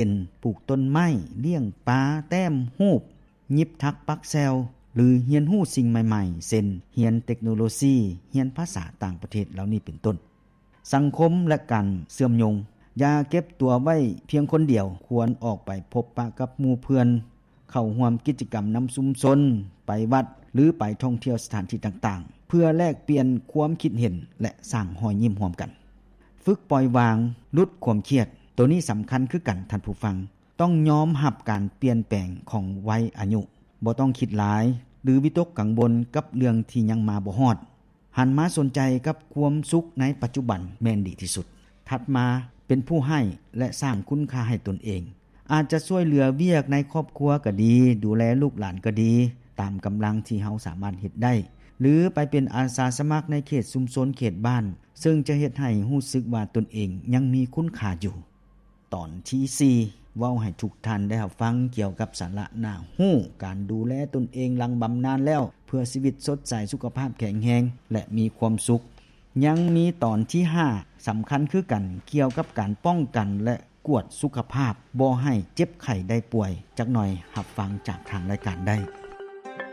ຊັ່ນ ປູກຕົ້ນໄມ້, ລ້ຽງປາ, ແຕ້ມຮູບ, ຫຍິບຖັກປັກແຊວ ຫຼື ຮຽນຮູ້ສິ່ງໃໝ່ໆ ເຊັ່ນ ຮຽນເຕັກໂນໂລຊີ, ຮຽນພາສາຕ່າງປະເທດ ເຫຼົ່ານີ້ເປັນຕົ້ນ. ສັງຄົມ ແລະ ການເຊື່ອມໂຍງ. ຢ່າເກັບຕົວໄວ້ພຽງຄົນດຽວ, ຄວນອອກໄປພົບປະກັບໝູ່ເພື່ອນ, ເຂົ້າຮ່ວມກິດຈະກຳນຳຊຸມຊົນ, ໄປວັດ ຫຼື ໄປທ່ອງທ່ຽວສະຖານທີ່ຕ່າງໆ ເພື່ອແລກປ່ຽນຄວາມຄິດເຫັນ ແລະ ສ້າງຮອຍຍິ້ມຮ່ວມກັນ. ຝຶກປ່ອຍວາງ, ຫຼຸດຄວາມຄຽດ. ໂຕນີ້ສຳຄັນຄືກັນທ່ານຜູ້ຟັງ, ຕ້ອງຍອມຮັບການປ່ຽນແປງຂອງໄວອາຍຸ, ບໍ່ຕ້ອງຄິດຫຼາຍ ຫຼື ວິຕົກກັງວົນກັບເລື່ອງທີ່ຍັງມາບໍ່ຮອດ. ຫັນມາສົນໃຈກັບຄວາມສຸກໃນປັດຈຸບັນແມ່ນດີທີ່ສຸດ. ຖັດມາເປັນຜູ້ໃຫ້ ແລະ ສ້າງຄຸນຄ່າໃຫ້ຕົນເອງ. ອາດຈະຊ່ວຍເຫຼືອວຽກໃນຄອບຄົວກໍດີ, ດູແລລູກຫຼານກໍດີ, ຕາມກຳລັງທີ່ເຮົາສາມາດເຮັດໄດ້ ຫຼື ໄປເປັນອາສາສະໝັກໃນເຂດຊຸມຊົນເຂດບ້ານ, ເຊິ່ງຈະເຮັດໃຫ້ຮູ້ສຶກວ່າຕົນເອງຍັງມີຄຸນຄ່າຢູ່. ຕອນທີສີ່ ເວົ້າໃຫ້ທຸກທ່ານໄດ້ຮັບຟັງກ່ຽວກັບສາລະໜ້າຮູ້ ການດູແລຕົນເອງຫຼັງບຳນານແລ້ວ ເພື່ອຊີວິດສົດໃສ, ສຸຂະພາບແຂງແຮງ ແລະ ມີຄວາມສຸກ. ຍັງມີຕອນທີຫ້າ ສຳຄັນຄືກັນ ກ່ຽວກັບການປ້ອງກັນ ແລະ ກວດສຸຂະພາບ ບໍ່ໃຫ້ເຈັບໄຂ້ໄດ້ປ່ວຍ. ຈັກໜ່ອຍຮັບຟັງຈາກທາງລາຍການໄດ້.